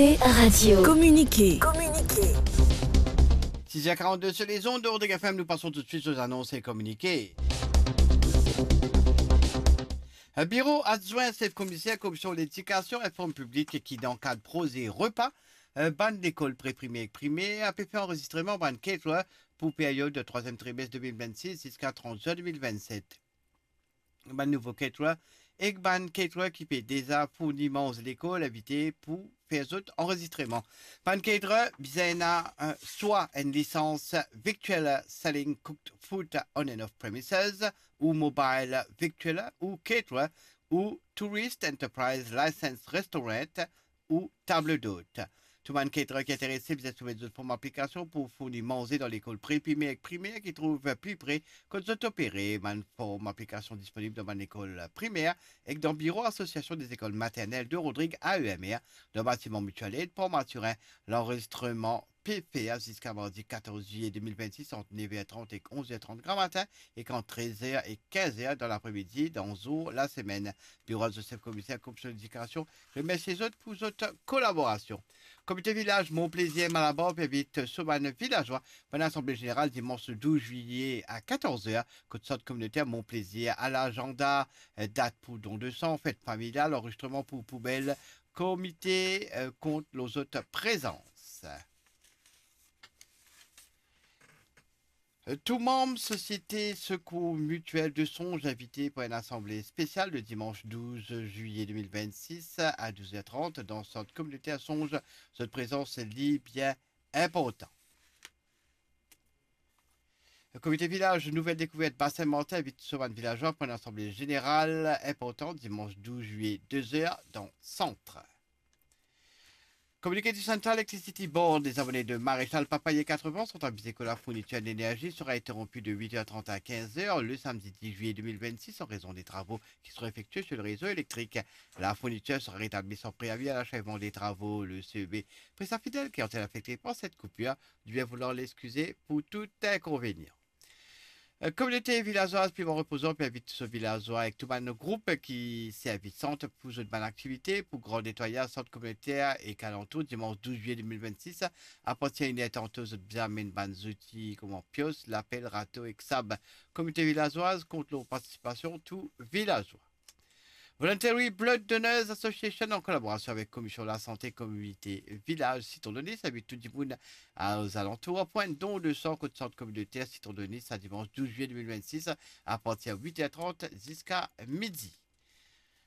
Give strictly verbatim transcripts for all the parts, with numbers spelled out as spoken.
Radio. Communiqué. Communiqué. Six heures quarante-deux sur les ondes de Rodrigue F M, nous passons tout de suite aux annonces et communiqués. Euh, Biro adwin sef komiser Komisyon Ledikasion inform piblik ki dan kad proze repa, euh, bann lekol pre-primer ek primer pe fer anrezistreman bann caterer pou period trwaziem trimes de mil vennsis ziska trant zin de mil vennset. Bann nouvo caterer ek bann caterer ki pe deza fourni manze lekol invite pou fer zot anrezistreman. Bann caterer bizin ena, euh, swa enn lisans Victualler Selling Cooked Food on and Off Premises, ou Mobile Victualler, ou Caterer, ou Tourist Enterprise License Restaurant, ou Table d'Hôte. Tou bann caterer ki interese bizin soumet zot form aplikasion pou fourni manze dan lekol pre-primer ek primer ki trouv pli pre kot zot opere. Bann form aplikasion disponib dan bann lekol primer ek dan biro Association des Écoles Maternelles de Rodrigues, A E M R, dan batiman Mutual Aid, Port Mathurin. Lanrezistreman pe fer ziska mardi katorz zilye de mil vennsis ant nev er trant ek onz er trant gramatin ek ant trez er ek kinz er dan lapremidi dan zour lasemenn. Biro adwin sef komiser Komisyon Ledikasion remersie zot pou zot kolaborasion. Komite Vilaz Mon Plaisir Malabar pe invit so bann vilazwa pou enn asanble zeneral dimans douz zilye a katorz er, kot sant kominoter Mon Plaisir. Alazanda, eh, dat pou don de san, fet familial, anrezistreman pou poubel. Komite, eh, kont lor zot prezans. Tou manm Sosiete Secours Mutuel de Songe invite pou enn asanble spesial le dimans douz zilye de mil vennsis a douz er trant dan sant kominoter Songe. Zot prezans li bien inportan. Komite Vilaz Nouvel Dekouvert Basin Martin invit so bann vilazwa pou enn asanble zeneral inportan dimans douz zilye, de er dan sant. Communiqué du Central Electricity Board, les abonnés de Maréchal Papaye quatre-vingts sont avisés que la fourniture d'énergie sera interrompue de huit heures trente à quinze heures le samedi dix juillet deux mille vingt-six en raison des travaux qui seront effectués sur le réseau électrique. La fourniture sera rétablie sans préavis à l'achèvement des travaux. Le C E B prévient ses fidèles qui ont été affectés par cette coupure de bien vouloir l'excuser pour tout inconvénient. Euh, Kominote Vilazwaz Piman Repozan pe invit so vilazwa ek tou bann group ki servi sant pou zot bann aktivite pou gran netwayaz sant kominoter ek alantour dimans douz zilye de mil vennsis. Apartir inn er tanto zot bizin amenn bann zouti kouma pios, lapel, rato ek sab. Kominote Vilazwaz kont lor partisipasion tou vilazwa. Voluntary Blood Donors Association, an kolaborasion avek Komisyon Lasante Kominote Vilaz Siton Donis, invit tou dimoun a zalantour pou enn don de san kot sant kominoter Siton Donis, sa dimans douz zilye de mil vennsis, apartir wit er trant ziska midi.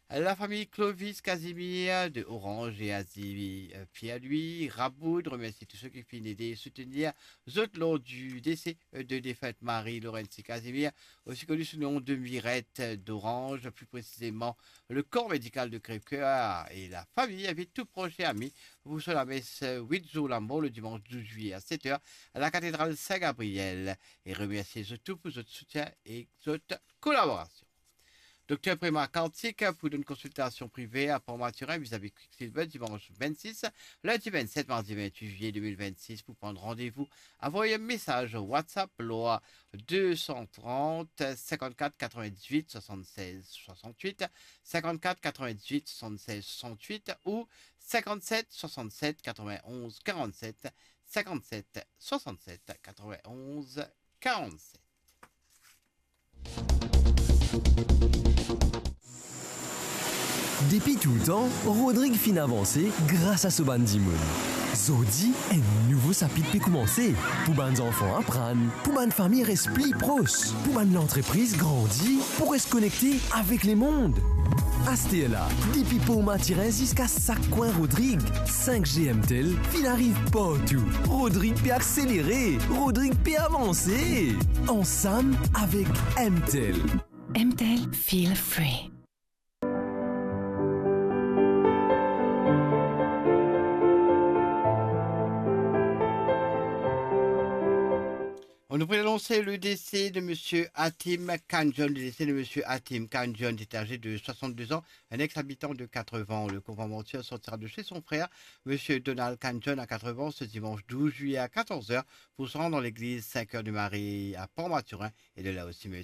Lafami Clovis Casimir de Orange e Azi, euh, Pierre-Louis Raboud remersie tous ceux qui finn ede soutenir zot lor du décès, euh, de défunte Marie Laurentie Casimir, aussi connue sous le nom de Mirette d'Orange, plus précisément le corps médical de Crèvecoeur et la famille invite tout proche et ami pour son lamesse, euh, huit jours la mort, le dimanche douze juillet à sept heures à la cathédrale Saint-Gabriel, et remercie surtout pour zot soutien et zot kolaborasion. Dokter Prema Kartik pou donn konsiltasion prive a Port Mathurin vizavi Quicksilver dimans vennsis, lindi vennset, mardi vennwit zilye de mil vennsis. Pou pran randevou, avoy mesaz WhatsApp lor de san trant, sinkant-kat, katrovin-dizuit, swasann-sez, swasann-uit, sinkant-kat, katrovin-dizuit, swasann-sez, swasann-uit ou sinkant-set, swasann-set, katrovin-onz, karant-set, sinkant-set, swasann-set, katrovin-onz, karant-set. Depi toultan, Rodrig finn avanse gras a so bann dimoun. Zordi, enn nouvo sapit pe koumanse. Pou bann zanfan aprann, pou bann fami res pli pros, pou bann lantrepriz grandi, pou res konekte avek lemond. Asterla, depi Port Mathurin ziska sak kwin Rodrig, sink G M Tel finn ariv partou. Rodrig pe akselere, Rodrig pe avanse. Ansam avek M Tel. M Tel, feel free. On nous annonce le décès de monsieur Hatim Kanjon. Le décès de monsieur Hatim Kanjon était âgé de soixante-deux ans, un ex-habitant de Quatre-Vents. Le convoi mortuaire sortira de chez son frère, monsieur Donald Kanjon, à Quatre-Vents, ce dimanche douze juillet à quatorze heures pour se rendre dans l'église Saint-Cœur de Marie à Port-Mathurin et de là au cimetière.